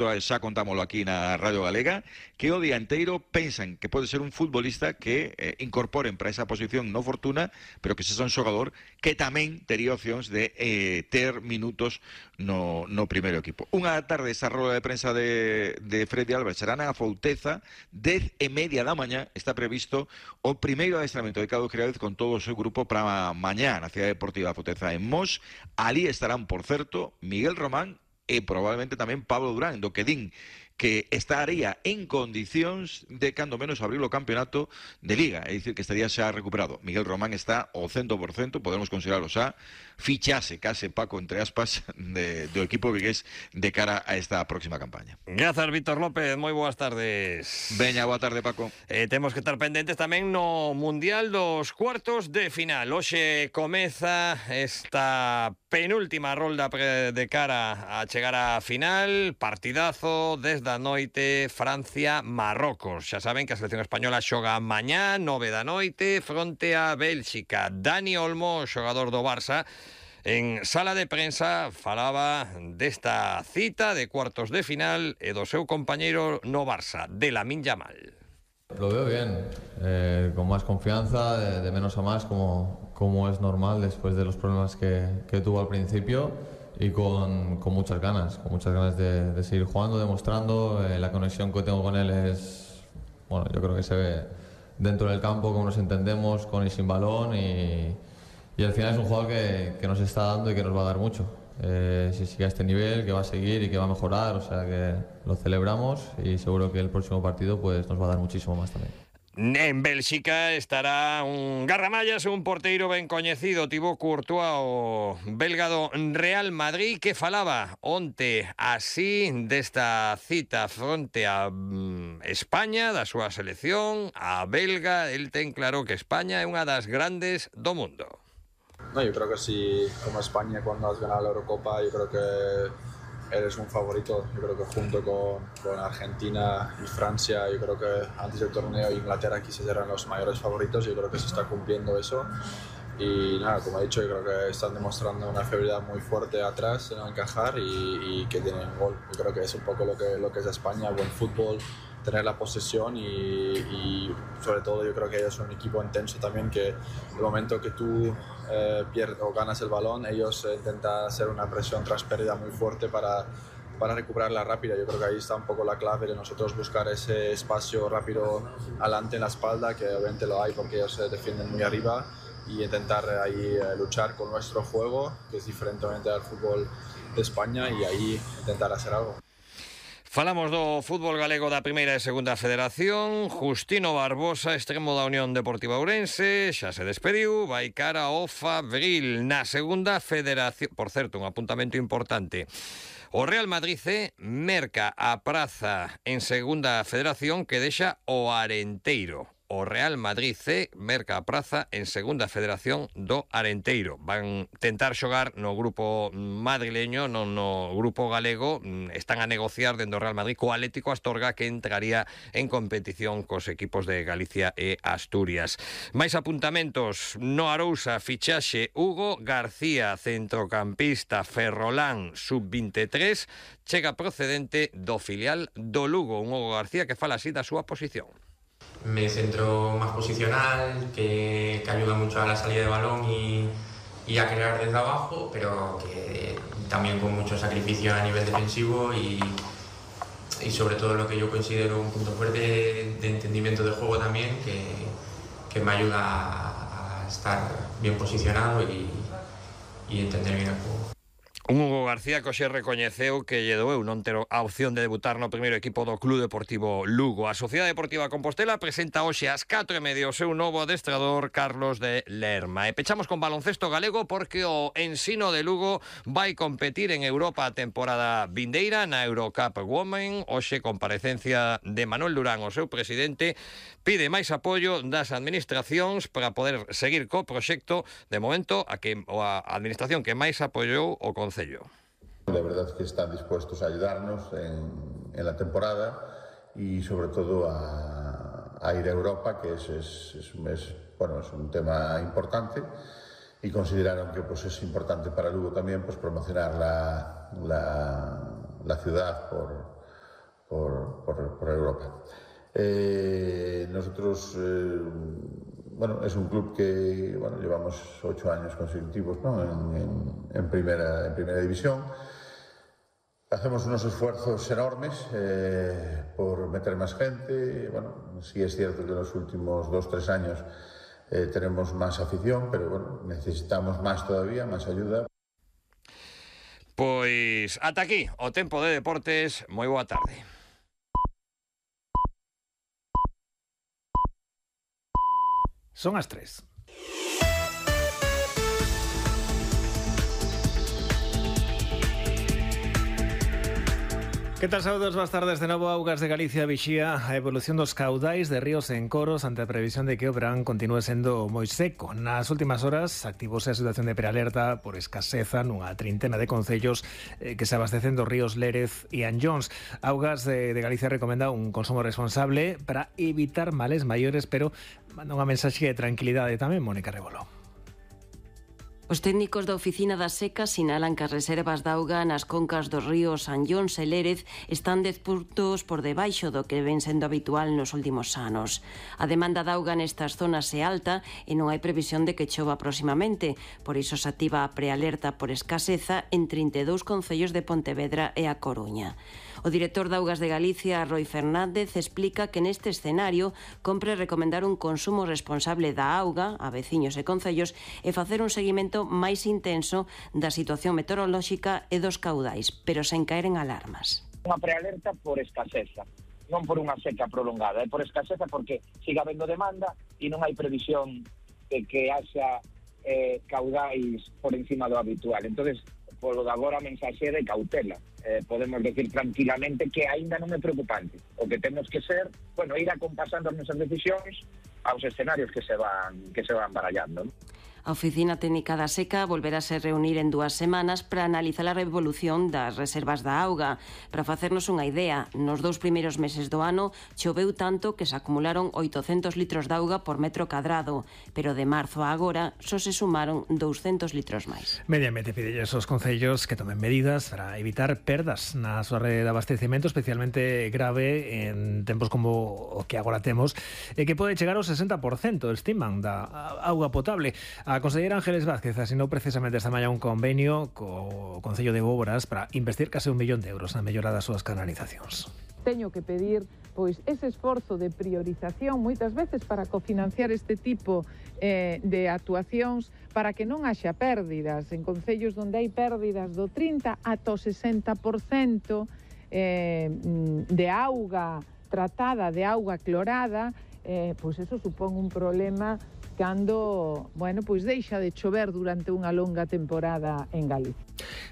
xa contámoslo aquí na Radio Galega, que o día inteiro pensan que pode ser un futbolista que incorporen para esa posición no Fortuna, pero que sexa un xogador que tamén tería opcións de ter minutos no primeiro equipo. Unha tarde esa roda de prensa de Freddy Álvarez será na Fouteza, 10:30 da mañá, está previsto o primeiro adestramento de Cado Creadez con todo o seu grupo para mañá na Cidade Deportiva Fouteza en Mos. Ali estarán, por certo, Miguel Román e probablemente tamén Pablo Durán, do que din que estaría en condicións de, cando menos, abrir o campeonato de Liga, é dicir, que estaría xa recuperado. Miguel Román está ao 100%, podemos considerarlo xa, fichase, case, Paco, entre aspas, do equipo vigués de cara a esta próxima campaña. Grazas, Víctor López, moi boas tardes. Veña, boa tarde, Paco. Temos que estar pendentes tamén no Mundial dos cuartos de final. Hoxe comeza esta penúltima rolda de cara a chegar á final. Partidazo desde a noite, Francia-Marrocos. Xa saben que a selección española xoga mañá, 9 da noite, fronte a Bélxica. Dani Olmo, xogador do Barça, en sala de prensa falaba desta cita de cuartos de final e do seu compañeiro no Barça, de Lamine Yamal. Lo veo bien, con más confianza, de menos a más, como es normal después de los problemas que tuvo al principio, y con muchas ganas de seguir jugando, demostrando. La conexión que tengo con él es, bueno, yo creo que se ve dentro del campo, cómo nos entendemos con y sin balón, y al final es un jugador que nos está dando y que nos va a dar mucho. Si sigue a este nivel, que va a seguir y que va a mejorar, o sea que lo celebramos, y seguro que el próximo partido pues nos va a dar muchísimo más también. En Bélxica estará un garramallas, un porteiro ben coñecido, Thibaut Courtois, o belga do Real Madrid, que falaba onte así desta cita fronte a España, da súa selección, a belga. El ten claro que España é unha das grandes do mundo. No, yo creo que si, como España, cuando has ganado la Eurocopa, yo creo que eres un favorito. Yo creo que junto con Argentina y Francia, yo creo que antes del torneo Inglaterra quizás eran los mayores favoritos. Yo creo que se está cumpliendo eso. Y nada, como he dicho, yo creo que están demostrando una fiabilidad muy fuerte atrás en encajar y que tienen gol. Yo creo que es un poco lo que es España, buen fútbol, tener la posesión y sobre todo yo creo que ellos son un equipo intenso también, que el momento que tú pierdes o ganas el balón, ellos intentan hacer una presión tras pérdida muy fuerte para recuperarla rápida. Yo creo que ahí está un poco la clave de nosotros, buscar ese espacio rápido adelante en la espalda, que obviamente lo hay porque ellos se defienden muy arriba, y intentar ahí luchar con nuestro juego, que es diferente al fútbol de España, y ahí intentar hacer algo. Falamos do fútbol galego da primeira e segunda federación. Justino Barbosa, extremo da Unión Deportiva Ourense, xa se despediu, vai cara ao Fabril na segunda federación. Por certo, un apuntamento importante: o Real Madrid C merca a praza en segunda federación que deixa o Arenteiro. O Real Madrid C merca a praza en segunda federación do Arenteiro. Van tentar xogar no grupo madrileño, non no grupo galego. Están a negociar dentro do Real Madrid co Atlético Astorga, que entraría en competición cos equipos de Galicia e Asturias. Mais apuntamentos: no Arousa, fichaxe Hugo García, centrocampista ferrolán sub-23, chega procedente do filial do Lugo. Un Hugo García que fala así da súa posición. Me centro más posicional, que ayuda mucho a la salida de balón y a crear desde abajo, pero que también con mucho sacrificio a nivel defensivo y sobre todo lo que yo considero un punto fuerte de entendimiento del juego también, que me ayuda a estar bien posicionado y entender bien el juego. Un Hugo García que hoxe recoñeceu que lle doeu non ter a opción de debutar no primeiro equipo do Club Deportivo Lugo. A Sociedade Deportiva Compostela presenta hoxe ás 4:30 o seu novo adestrador, Carlos de Lerma. E pechamos con baloncesto galego, porque o Ensino de Lugo vai competir en Europa a temporada vindeira na Eurocup Women. Hoxe, comparecencia de Manuel Durán, o seu presidente, pide máis apoio das administracións para poder seguir co proxecto. De momento, a administración que máis apoiou o Concello. De verdad que están dispuestos a ayudarnos en la temporada y sobre todo a ir a Europa, que es un tema importante, y consideraron que pues es importante para Lugo también pues promocionar la ciudad Europa. Nosotros, es un club que llevamos 8 años consecutivos, ¿no?, en primera división. Hacemos unos esfuerzos enormes por meter más gente. Sí es cierto que en los últimos 2-3 años tenemos más afición, pero necesitamos más todavía, más ayuda. Pois ata aquí o tempo de deportes. Moi boa tarde. Son as 3. Que tal, saúdos, boas tardes de novo. Augas de Galicia vixía a evolución dos caudais de ríos en Coros ante a previsión de que o verán continúe sendo moi seco. Nas últimas horas activouse a situación de prealerta por escaseza nunha trintena de concellos que se abastecen dos ríos Lérez e Anllóns. Augas de Galicia recomenda un consumo responsable para evitar males maiores, pero manda unha mensaxe de tranquilidade tamén, Mónica Rebolo. Os técnicos da Oficina da Seca sinalan que as reservas de auga nas concas dos ríos Anllóns e Lérez están 10 puntos por debaixo do que ven sendo habitual nos últimos anos. A demanda de auga nestas zonas é alta e non hai previsión de que chova próximamente, por iso se activa a prealerta por escaseza en 32 concellos de Pontevedra e A Coruña. O director de Augas de Galicia, Roi Fernández, explica que neste escenario compre recomendar un consumo responsable da auga a veciños e concellos e facer un seguimento máis intenso da situación meteorolóxica e dos caudais, pero sen caer en alarmas. Unha prealerta por escaseza, non por unha seca prolongada, é por escaseza porque siga habendo demanda e non hai previsión de que haxa caudais por encima do habitual. Entonces, polo de agora a mensaxe de cautela. Podemos decir tranquilamente que aínda non é preocupante. O que temos que ser, ir acompasando as nosas decisións aos escenarios que se van barallando, ¿no? A Oficina Técnica da Seca volverase a reunir en 2 semanas para analizar a evolución das reservas da auga. Para facernos unha idea, nos 2 primeiros meses do ano choveu tanto que se acumularon 800 litros de auga por metro cadrado, pero de marzo a agora só se sumaron 200 litros máis. Mediamente pidelles aos concellos que tomen medidas para evitar perdas na súa rede de abastecemento, especialmente grave en tempos como o que agora temos, e que pode chegar ao 60%, estiman, da auga potable. A conselleira Ángeles Vázquez asinou precisamente esta mañá un convenio co Concello de Bóboras para investir case 1 millón de euros na mellora das súas canalizacións. Teño que pedir ese esforzo de priorización moitas veces para cofinanciar este tipo de actuacións para que non haxa pérdidas en concellos onde hai pérdidas do 30 ata o 60% de auga tratada, de auga clorada. Eso supón un problema cando, deixa de chover durante unha longa temporada en Galicia.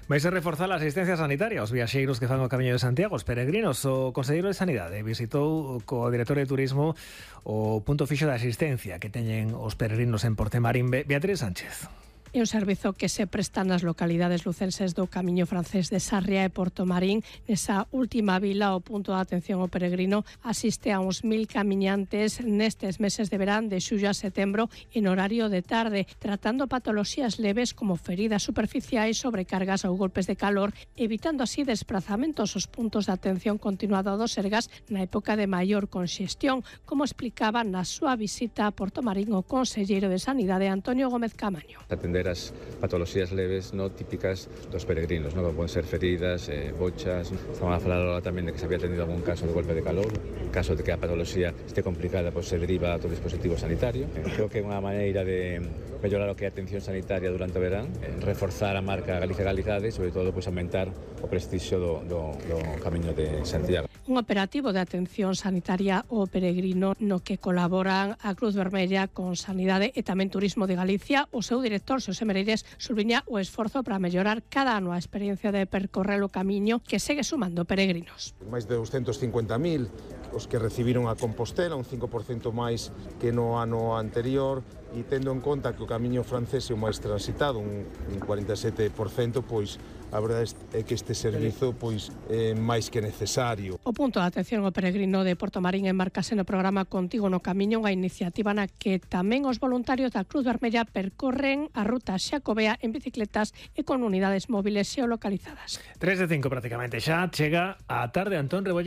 Vais a reforzar a asistencia sanitaria aos viaxeiros que fan o Camiño de Santiago, os peregrinos. O Conselleiro de Sanidade visitou co director de Turismo o punto fixo de asistencia que teñen os peregrinos en Portemarín. Beatriz Sánchez. É un servizo que se presta nas localidades lucenses do Camiño francés de Sarria e Portomarín. Nesa última vila, o punto de atención ao peregrino asiste a uns 1000 camiñantes nestes meses de verán de xullo a setembro en horario de tarde, tratando patoloxías leves como feridas superficiais, sobrecargas ou golpes de calor, evitando así desplazamentos aos puntos de atención continuado do Sergas na época de maior conxestión, como explicaba na súa visita a Portomarín o conselleiro de Sanidade Antonio Gómez Camaño. Atender as patoloxías leves típicas dos peregrinos, como poden ser feridas, bochas. Estamos a falar ahora tamén de que se había tenido algún caso de golpe de calor. En caso de que a patoloxía esté complicada, se deriva a outro dispositivo sanitario. Creo que é unha maneira de mellorar o que é a atención sanitaria durante o verán, reforzar a marca Galicia Galizade e, sobre todo, aumentar o prestixio do Camiño de Santiago. Un operativo de atención sanitaria ao peregrino no que colaboran a Cruz Vermella con Sanidade e tamén Turismo de Galicia. O seu director, Xosé Mereires, subliña o esforzo para mellorar cada ano a experiencia de percorrer o camiño que segue sumando peregrinos. Máis de 250.000 os que recibiron a Compostela, un 5% máis que no ano anterior, e tendo en conta que o camiño francés é o máis transitado, un 47%, a verdade é que este servizo é máis que necesario. O punto de atención ao peregrino de Portomarín enmarcase no programa Contigo no Camiño, unha iniciativa na que tamén os voluntarios da Cruz Vermella percorren a ruta xacobea en bicicletas e con unidades móviles xeolocalizadas. 3 de 5 prácticamente xa chega a tarde. Antón Rebollé.